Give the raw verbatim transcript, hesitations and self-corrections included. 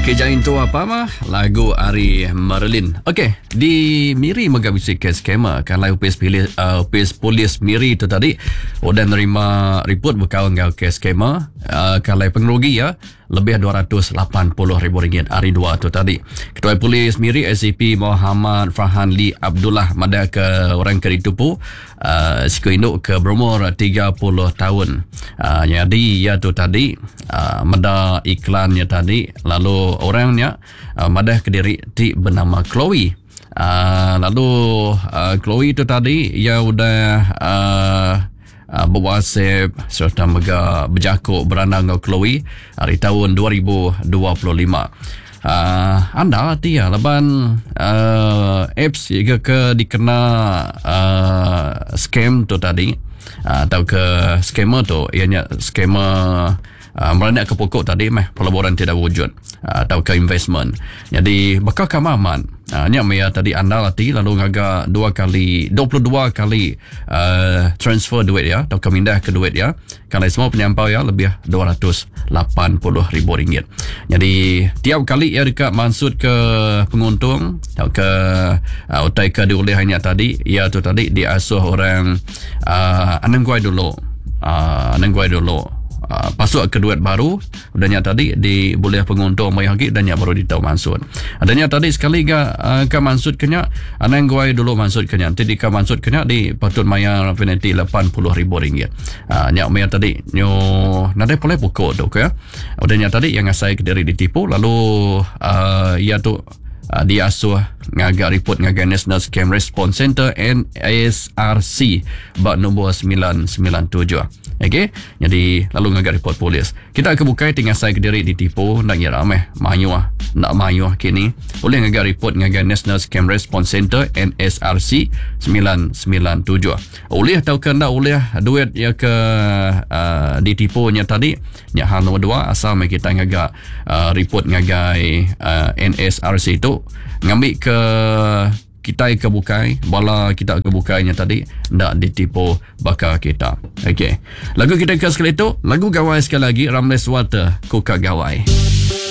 Okey, jain tu apa mah lagu ari Marilyn. Okey, di Miri mega bisi kes scammer kan lai upis pilih uh, upis polis Miri tu tadi udah nerima report bekal enggau kes scammer uh, kalai pengerugi ya lebih dua ratus lapan puluh ribu ringgit hari dua tu tadi. Ketua Polis Miri S C P Muhammad Farhan Lee Abdullah madah ke orang ke ditupu uh, siku induk ke berumur tiga puluh tahun. Uh, jadi ia tu tadi uh, meda iklannya tadi lalu orangnya uh, madah ke diri ti bernama Chloe. Uh, lalu uh, Chloe tu tadi ia udah uh, Uh, berwhatsapp serta mega berjakuk berandang dengan Chloe hari tahun dua ribu dua puluh lima. Uh, anda hati ya laban uh, apps juga ke dikena uh, scam tu tadi uh, atau ke scammer tu ianya scammer uh, meranak ke pokok tadi meh pelaburan tidak wujud uh, atau ke investment. Jadi bakal kamaman Uh, nya maya tadi anda lati lalu ngaga dua kali dua puluh dua kali uh, transfer duit ya atau kemindah ke duit ya. Kalau semua penyampau ya lebih dua ratus lapan puluh ribu ringgit. Jadi tiap kali ya dekat maksud ke penguntung atau ke uh, utai ke dioleh hanya tadi ya tu tadi diasuh orang uh, anang guai dulu. Uh, anang guai dulu. Uh, pasuk ke duit baru udahnya tadi di boleh penguntung mai lagi dan baru ditau maksud. Adanya tadi sekali ga uh, ka maksud kenya anang guai dulu maksud kenya nanti di ka maksud kenya di patut mayar penalti lapan puluh ribu ringgit. Uh, nyak mayar tadi nyo nadai boleh pokok tu ke. Udahnya tadi yang ngasai ke diri ditipu lalu uh, ia tu Uh, diasuh ngaga report ngaga National Scam Response Center N S R C bak nombor sembilan sembilan tujuh. Okey, jadi lalu ngaga report polis. Kita ke bukai tinggal saya ke diri ditipu nak ngira meh mayuh nak mayuh kini. Boleh ngaga report ngaga National Scam Response Center N S R C sembilan sembilan tujuh. Oleh atau ke ndak oleh duit ya ke uh, ditipunya tadi nya hal nombor dua asal meh kita ngaga uh, report ngagai uh, N S R C tu ngambil ke kita ke bukai bala kita ke bukainya tadi ndak ditipu bakal kita. Okey, lagu kita ke sekali tu lagu gawai sekali lagi Ramles Water Kuka Gawai.